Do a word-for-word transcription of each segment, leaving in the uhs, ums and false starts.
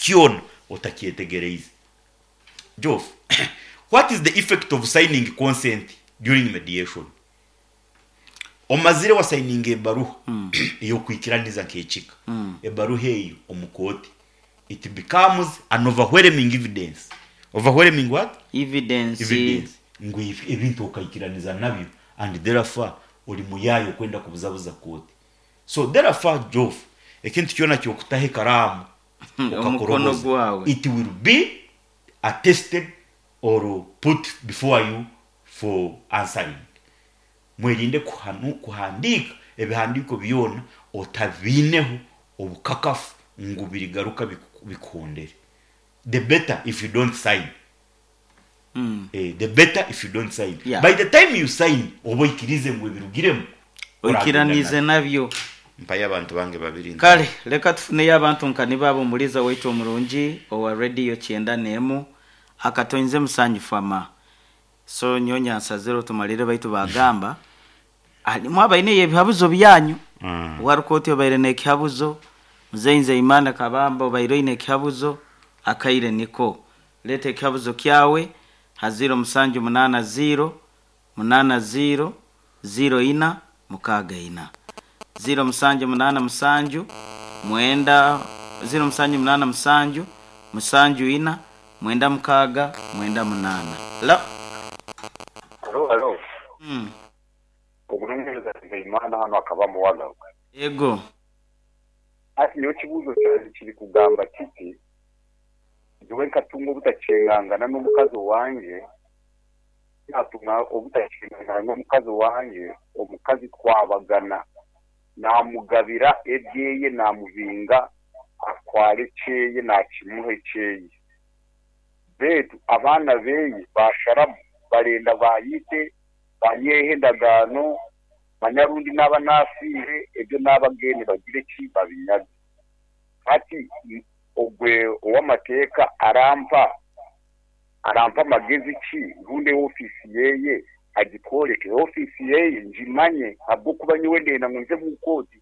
Kyona otakyetegereize. Jof, what is the effect of signing consent during mediation? Omazire wasayininga ebaruha ey'okwikiraniza nk'ekika, ebaruha eyo omu kooti it becomes an overwhelming evidence. Overwhelming what? Evidence. Evidence ngu ebi- ebintu okaikiraniza nabyo, and therefore ori muyaayo okwenda kubuzabuza kooti. So therefore, Jof, ekintu kyona kyokutaho ekaraamu omukono okakoroboza, gwawe, it will be attested or put before you for answering. Mwerinde kuhanu, kuhandika ebihandiko byona otabiineho obukakafu ngu birigaruka biku- bikuhondere. The better if you don't sign. Mm. Eh, the better if you don't sign. Yeah. By the time you sign, oba oikirize ngu ebirugiremu oikiranize nabyo. Mpayo abantu bange babiri. Kale leka tufuneyo abantu nka nibaabo. Omuliza waitu omurungi owa rediyo kyenda n'emu akatoinze musanju ama so nyonya nsazire tumalire, baitu bagamba alimu abaine ebihabuzo byanyu. Mm. Warukoti obaire n'ekihabuzo, muzeyi Nzeimana Kabamba obaire oine ekihabuzo, akaire niko leeta ekihabuzo kyawe ha ziro musanju munaana ziro munaana ziro ziro ina mukaaga ina, ziro musanju munaana musanju mwenda, ziro musanju munaana musanju musanju ina mwenda mukaaga mwenda munaana la. Halo, halo. mm. Obunoonyereza Nzeimana hano akaba muwaga. Ego. Ati niyo kibuuzo kyange kiri kugamba kiti: nyowe nkatunga obutakyengangana n'omukazi wange, natunga obutakyengangana n'omukazi wange, omukazi twabagana, namugabira ebyeye, namubinga atwara ekyeye, nakimuha ekyeye, betu abaana beye basharamu barenda bayite banyehe endagaano manyarundi naba nafiire ebyo n'abageni bagire ki babinyaga. Hati ogwe ow'amateeka arampa arampa amagezi ki, rundi ofiisi yeye agitworeke, ofiisi yeye ngimanye, habwokuba nyowe ndenda ngu nze mu kooti.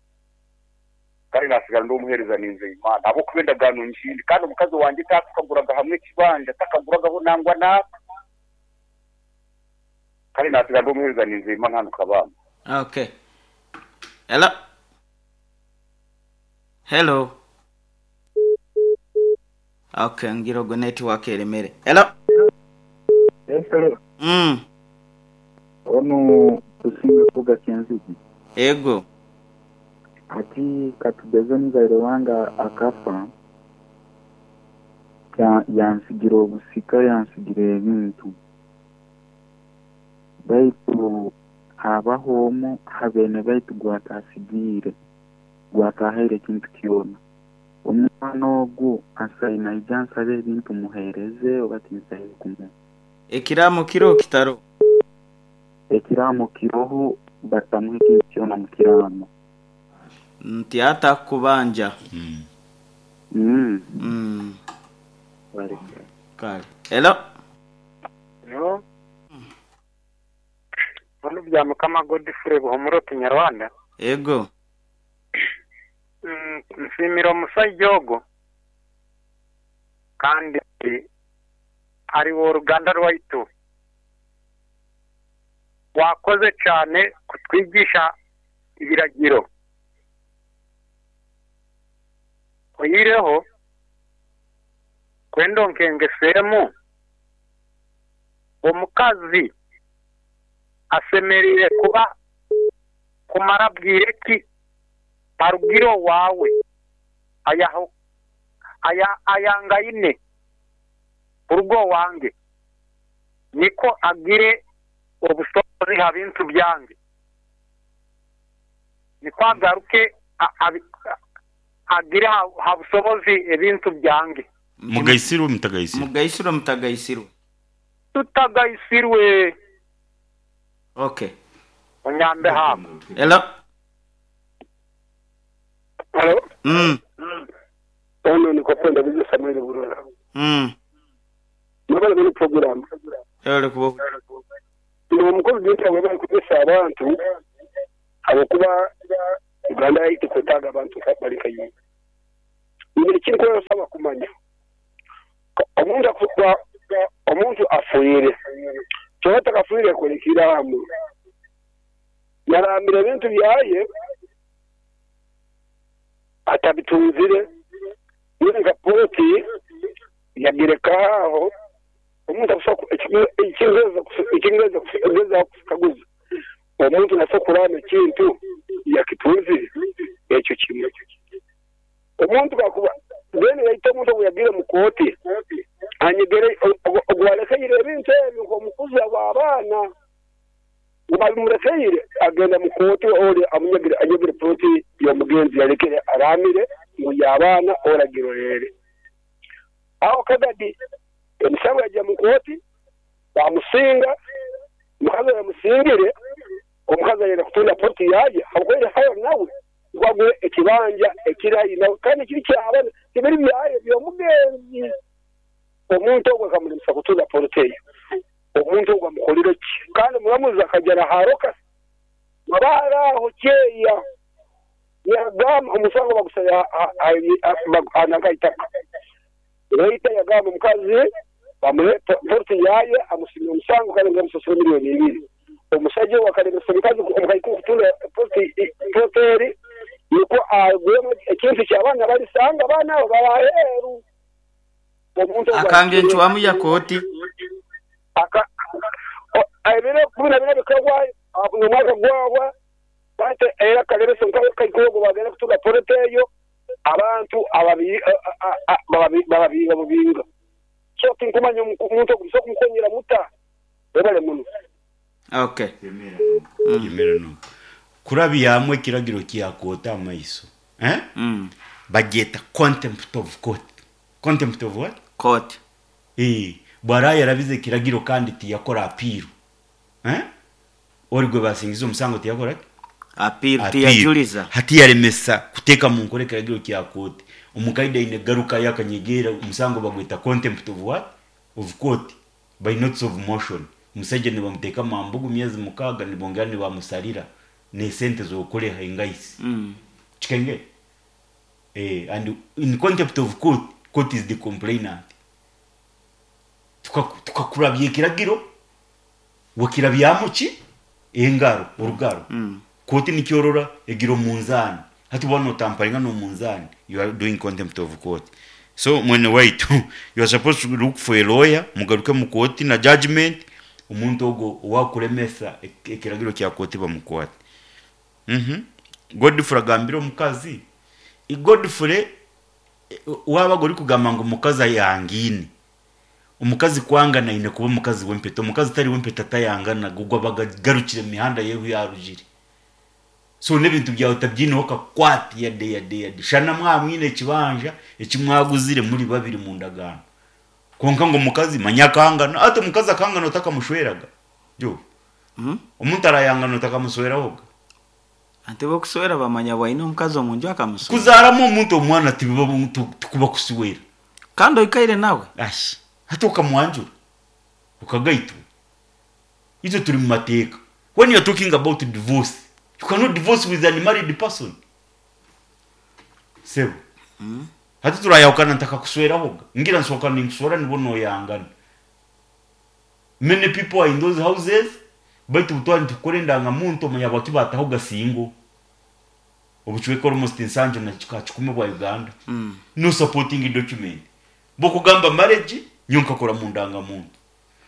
Kandi nasigara ndi omuheereza Ninzeyimana, habwokuba endagaano ngindi, kandi omukazi wange tatukaguraga hamwe ekibanja, takaguragaho nangwa naaka. Kandi nasigara ndi omuheereza Ninzeyimana hano Kabamba. Okay, hello, hello. Okay, ngira ogwo network eremere. Hello. Hello. mm. Ono tusinga kuvuga Kyenzigi. Ego. Ati katugeze omuzaire wange akafa, ya- yansigira obusika, yansigira ebintu, baitu habaho omu habene baitu gwatasigiire, gwatahaire ekintu kyona. Omwana ogu asaine naija nsabe ebintu muheereze oba tinsaine kumuha? Ekiraamo kiro kitaro? Ekiraamo kiroho, batamuha ekintu kyona mu kiraamo. Nti ata kubanja. Mm. mm. mm. Bareke. Kale, hello. No. Hano bya Mukama Godfrey Buhumuro Kinyarwanda. Ego. Mm, nsimira omusajja ogwo kandi ari oruganda rwaitu, wakoze cyane kutwigisha ibiragiro. Oyireho kwenda onkengeseemu, omukazi asemerire kuba kumara bwire ki arugire wawe ayaho aya ayangaine urugo wange, niko agire obusobozi ha bintu byange, niko agaruke a- abi- agire ha, ha busobozi ebintu byange. Mugaisirwe, mutagaisirwe? Mugaisirwe, mutagaisirwe? Tutagaisirwe. Okay. Onyambe hako. Hello. Halo, mm. ono ni kwenda bize Samuel Burora. Mm. Nabala muri program. Ere kubo. Ni omukozi gita wabali kugesa abantu abakuba Uganda yaitu kwetaaga abantu bali kayi. Ni kiri ko saba kumanya. Omuntu akufa omuntu afuire. Kyona takafuire kurekiramu. Yarambira ebintu byaye atabitunzire nka poloti yagireka aho omuntu ekingeeza ekingeeza kukaguza omuntu naso kurama ekintu yakitunzire ekyo kimwe omuntu kakuba then yaita omuntu ogu yagire mu kooti anyegere ogwalekeire ebintu ebyo nk'omukuzi w'abaana babimurekeire agenda mu kooti ori amunyegere anyegere poloti y'omugenzi yalekere aramire ngu y'abaana oragirorere aho kagadi emisango yajya mu kooti bamusinga omukazi yamusingire omukazi ayenda kutunda poloti yaye habwokuba hayo nawe gwagwe ekibanja ekirayi nawe kandi kiri ky'abaana tibiri byaye by'omugenzi omuntu ogwo akamulemesa kutunda poloti eyo omuntu ogwo amukolire ki kandi omuramuzi akagera haroka mabara aho kyeya yagamba omusango bagusaya ananga itaka leta yagamba omukazi bamuhe poloti yaye amusimira omusango kandi ngamusasura miliyoni ibiri omusajja we akalemesa omukazi omukaiku kutunda poloti poloti eri niko agwemu ekintu ky'abaana balisanga abaana abo baraheru omuntu ogwo Akange nchwamu ya kooti. aka ebiro kumi na bina bikagwa omwaka gwagwa bate era kalebesa omukazi kaikuogo bagenda kutunda poloti eyo abantu ababi bababinga bubinga so tinkumanya omuntu ogwo so kumukonyera muta webale muno. Okay. Yemera no kurabiyamwe ekiragiro kya amaiso eh Mm. bagyeta contempt of court. Contempt of what? Court. Eh, bwara yarabize ekiragiro kandi tiyakora apiru eh ori gwe basingiza omusango tiyakora ki? Appeal Appeal. tiyajuliza. Hati yaremesa kuteeka mu nkora ekiragiro kya kooti omukaida aine garuka yakanyegera omusango bagweta contempt of what? Of court by notice of motion. Omusajja nibamuteeka mambugu myezi mukaaga nibongera nibamusarira nesente zokureha engaisi Mm. chikenge eh and in contempt of court, court is the complainant. Tukakurabya ekiragiro wakirabyamu ki engaro orugaro Mm. koti nikyorora egiro munzani hati bwana otamparinga no munzani, you are doing contempt of court. So mwene waitu, you are supposed to look for a lawyer mugaruke mu koti na judgment omuntu ogwo owakuremesa ek- ekiragiro kya koti bamukwate. Mhm Godfrey agambira omukazi I Godfrey eh, wabaga ori kugamba ngu omukazi ayangine omukazi kwangana aine kuba omukazi w'empeta omukazi tari w'empeta tayangana gugwa bagagarukire mu mihanda yehu yarugire so n'ebintu byawe tabyineho kakwati yade yade yade shana mwamwine ekibanja ekimwaguzire muri babiri mu ndagano konka ngo omukazi manya akangana ate omukazi akangana otakamushweraga jo Mm. omuntu arayangana otakamuswerahoga Ante bokuswera bamanya bwaine omukazi omunju akamuswera. kuzaaramu omuntu omwana tibiba tukuba kusiwera Kandi oikaire nawe. ashi hati ukamwanjura ukagaitwa izo turi mu mateeka. When you're talking about divorce, you cannot divorce with an unmarried person sebo. Mm. Hati turayahukana ntakakuswerahoga ngira nsohoka ninkuswera nibo noyangana. Many people are in those houses baitu butwari ntukore endangamuntu omanya baki batahoga singo obucweka almost ensanju na kika kikumi bwa Uganda. Mm. No supporting document bokugamba marriage nyonkakora mu ndangamuntu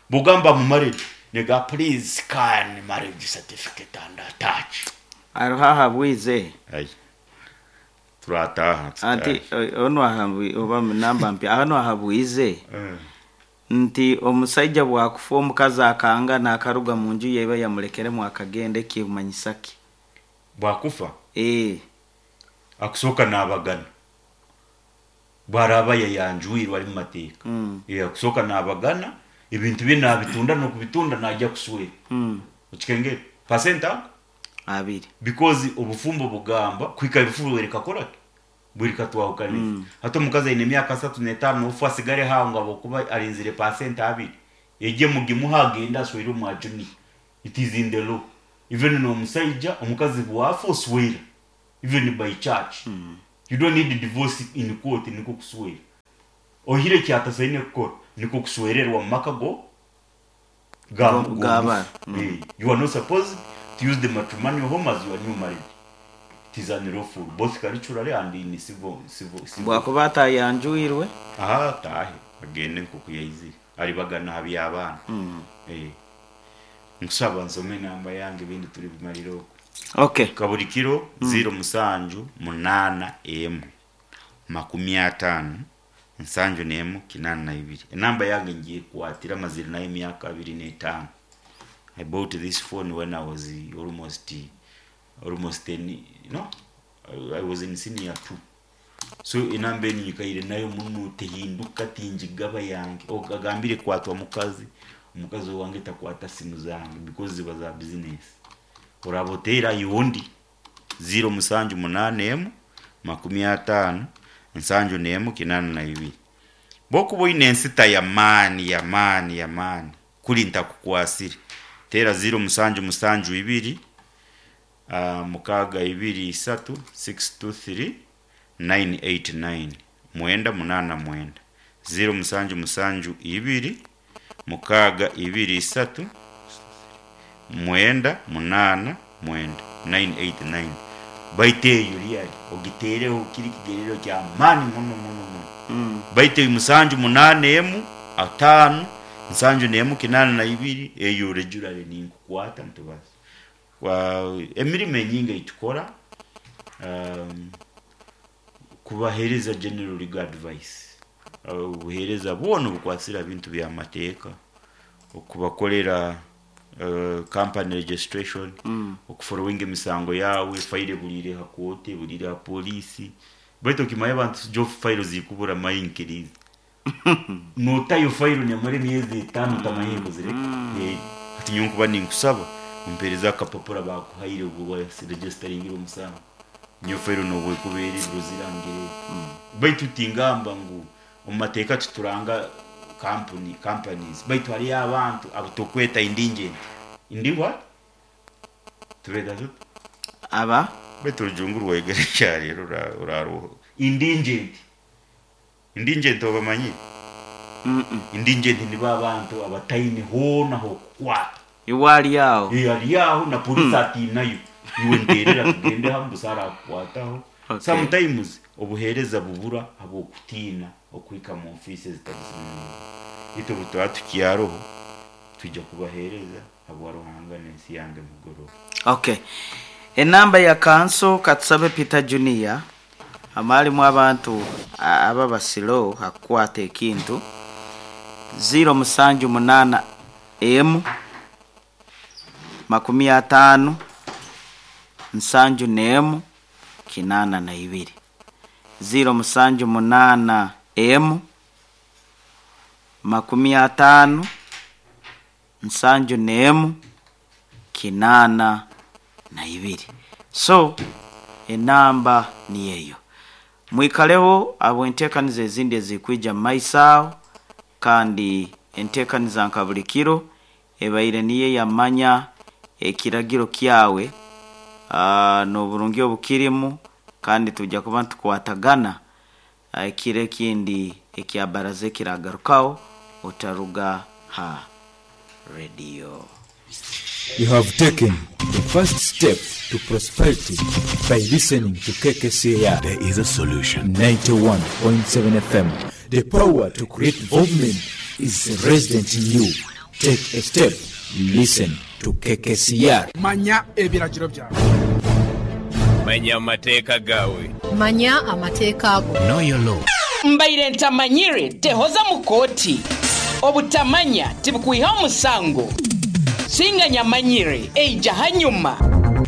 bugamba mu marriage nega please scan marriage certificate and attach. Aroha habwize. Ai turataha. Anti ono ahabwi oba namba mpya ano ahabwize Eh. nti omusajja bwakufa omukazi akanga n'akaruga mu nju yeba yamulekeremu akagenda ekimanyisa ki? Bwakufa Eh. akusooka n'abagana bwaraba yayanjwirwe ari mu mateeka. Mm. Eh, akusooka n'abagana ebintu bye nabitunda n'okubitunda najja kuswera. Mm. Okikengere percent ako Abiri. Because obufumbo bugamba kwika ebifuru wereka ki bwirika twahukaniza. Mm. Hati omukazi aine emyaka asatu n'etaano ofu asigare hawo nga bokuba arinzire percent abiri ejye mugimuha agenda aswere omwa junior. It is in the law. Even n'omusaija omukazi bwafa oswera even by church. Mm. You don't need divorce in court niko kuswera ohire kyatasaine kukora. Niko kuswererwa mu maka go ga Go- g'abaana. Eh, you are not supposed to use the matrimonial home as your new marriage. It is unlawful both culturally and in civil civil civil. Bwakuba atayanjwirwe. Aha, tahe agende nkuku yaizire alibagana habi abaana. Mm. Eh, nkusaba nsome namba yange, ibindi turi bimalire okwo. Okay. Kaburi kiro ziro musanju munana emu makumi atano nsanju nemu kinana na ibiri. Enamba yange ngiye kukwatira amazire nayo emyaka abiri n'etaano. I bought this phone when I was almost almost ten, no, I, I was in senior two. So enamba eni nyikaire nayo muno, tehinduka, tinjigaba yange. Ogagambire kwatwa mukazi, omukazi wange takwata simu zange because ziba za business. Orabotera yundi ziro musanju munane emu makumi atano nsanju nemu kinana na ibiri. Bokuba oine ensita ya maani ya maani ya maani kuri ntakukwasire, tera ziro musanju musanju ibiri uh, mukaga ibiri isatu six two three nine eight nine mwenda munana mwenda. Ziro musanju musanju ibiri mukaga ibiri isatu mwenda munana mwenda nine eight nine. Baita eyo ryari ogiteereho kiri kigerero kya maani muno muno muno. Mm. Baita musanju munana emu ataano nsanju nemu kinana na ibiri, eyo regularly ninkukwata ntubaza. Wa emirimo enyingi eitukora, um, kubahereza general legal advice, obuhereza bwona obukwasira bintu byamateeka, okubakolera uh, company registration, Mm. okufollowing emisango yawe, file bulire ha kooti, bulire ha polisi. Baitu okimaye abantu jo file zikubura mayinkirizi, notayo file nyamara emyezi etaano tamanye kuzireka. Eh, hati nyowe nkuba ninkusaba umpereza akapapura bakuhaire ubwo registeringira omusango, niyo file nobwekubeera ebiro zirangire. Baitu tingamba ngu omu mateeka tuturanga company companies, baitu hariyo abantu abo tokweta indigent. Indi what tubeta tuti? Aba Baitu orujungu rwegere kyarero uraruho. Indigent, indigent obamanyi? Mm-mm. Indigent nibo abantu abataine hoona hokukwata. Iwali awo. Eh, ali aho na polisi atinayo, iwe nterera tugende hamwe busara akukwataho. Okay. Sometimes obuhereza bubura habwokutiina okuhika mu ofisi zitari zimwe. Itwe butuba tukyaroho tujja kubahereza habwa Ruhanga n'ensi yange mugoroba. Okay, enamba ya kanso katusabe Peter Junior amalimu abantu a- aba basilo hakukwata ekintu. Ziro musanju munana emu makumi atano nsanju nemu kinana na ibiri. Ziro musanju munana emu makumi atano nsanju nemu kinana na ibiri. So enamba niyeyo. Mwikaleho abo enteekaniza ezindi ezikwija mu maiso aho, kandi enteekaniza nka buli kiro ebaire niyo yamanya ekiragiro kyawe ah, n'oburungi obukirimu, kandi tujja kuba ntukwatagana ah, ekiro ekindi ekya baraza ekiragarukaho. Otaruga ha radio. You have taken the first step to prosperity by listening to K K C R. There is a solution. ninety-one point seven F M. The power to create movement is resident in you. Take a step. Listen to K K C R. Manya ebiragiro byawe. Manya amateeka gaawe. Manya amateeka go. Know your law. Mbaire ntamanyire tehoza mu kooti, obutamanya tibukwiha omusango, singa nyamanyire eija hanyuma.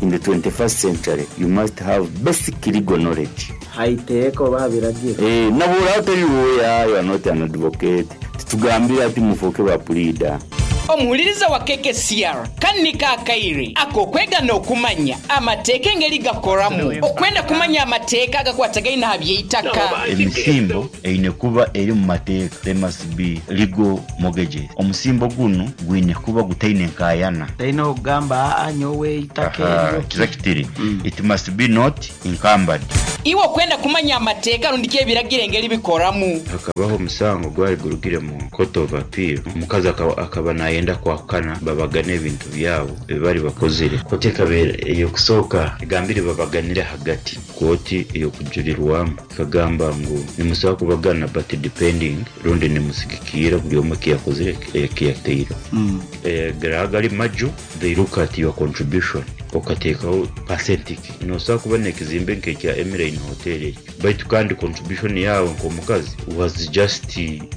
In the twenty-first century, you must have basic legal knowledge. Haiteeka oba biragiro. Eh, nabura utari lawyer, you are not an advocate. Titugambira ati mufoke ba pleader. Omuwuliriza wa K K C R kannika akaire akokwega n'okumanya amateeka engeri gakoramu, okwenda kumanya amateeka agakwatagaine aha by'eitaka. Emisimbo eine kuba eri mu mateeka. There must be legal mortgages. Omusimbo guno gwine kuba gutaine nkayana. Talina okugamba aa nyowe eitaka Aha, eryo. Kiza kitiri. It must be not encumbered. Iwe okwenda kumanya amateeka rundi ebiragiro engeri bikoramu. Hakabaho omusango gwali gurugire mu court of appeal, omukazi akaba, akaba nayenda kwahukana babagane ebintu byabo ebibari bakozire. Kooti ekabeera ey'okusooka egambire babaganire hagati. Kooti ey'okujurirwamu ekagamba ngu nimusobola kubagana but depending rundi nimusigikira buri omwe ekiyakozire ekiyateireho. Mm. Eh, gari maju, they look at your contribution okateekaho percentage. Nosobola kuba n'ekizimbe nk'ekya Emirine Hotel ekyo, baitu kandi contribution yawe nk'omukazi was just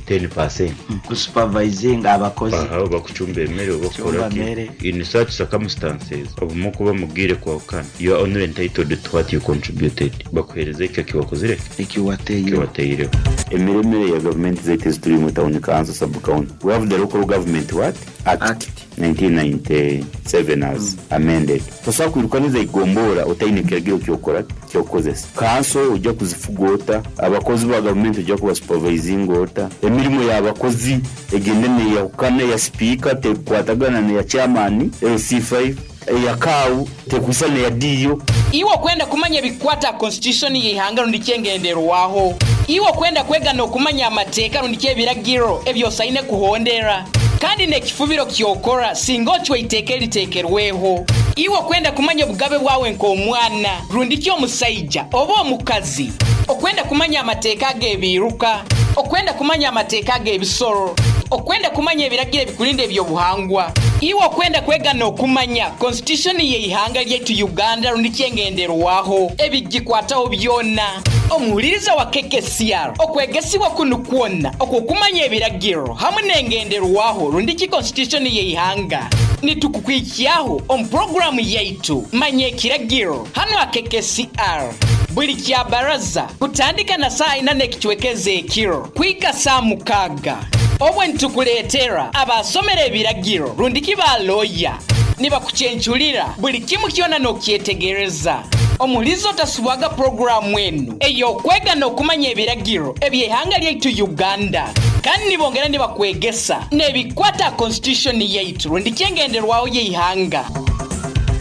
ten percent. Kusupervising abakozi. Aha, bakucumba emmere oba Kucumba kukola ki. emmere. In such circumstances, obumu kuba mugire kwahukana, you are only entitled to what you contributed. Bakuhereza ekyo ekiwakozire ekiwateireho. Ekiwateireho. Emiremere ya gavumenti zaitu ezituri mu town council, sub county, we have the Local Government what Act, Act. nineteen ninety-seven as amended. Tosobola kwirukaniza igombora otaine kiragiro kyokora kyokukozesa. Kanso ojja kuzifuga ota? Abakozi ba gavumenti ojja kubasupervisinga ota? Emirimu y'abakozi egende neyahukana, eya sipiika tekukwatagana neya chairman L C five, eya kaawu tekwisa neya diyo. Iwe okwenda kumanya ebikwata constitution y'ihanga rundi kyengenderwaho. Iwe okwenda kwega n'okumanya amateeka rundi ebiragiro ebyosaine kuhondera kandi n'ekifubiro kyokora singa ocwa iteeka eriteekerweho. Iwe okwenda kumanya obugabe bwawe nk'omwana rundi ki omusaija oba omukazi, okwenda kumanya amateeka ag'ebiiruka, okwenda kumanya amateeka ag'ebisoro, okwenda kumanya ebiragiro ebikulinda ebyobuhangwa. Iwe okwenda kwega n'okumanya constitution y'ihanga lyaitu Uganda rundi kyengenderwaho ebigikwataho byona, omuhuliriza wa K K C R, okwegesibwa kunu kwona okwokumanya ebiragiro hamwe n'engenderwaho rundi ki constitution y'ihanga nitukukwikyaho omu puroguramu yaitu Manya Ekiragiro hano ha K K C R buli kya baraza kutandika na saa ina n'ekicwekeza ekiro kwika saa mukaaga, obwe nitukuleetera abasomera ebiragiro rundi ki baloya nibakucyenculira buli kimu kyona n'okyetegereza. Omulizo otasubwaga puroguramu enu ey'okwega n'okumanya ebiragiro eby'ihanga lyaitu Uganda, kandi nibongera nibakwegesa n'ebikwata constitution yaitu rundi kyengenderwaho y'ihanga.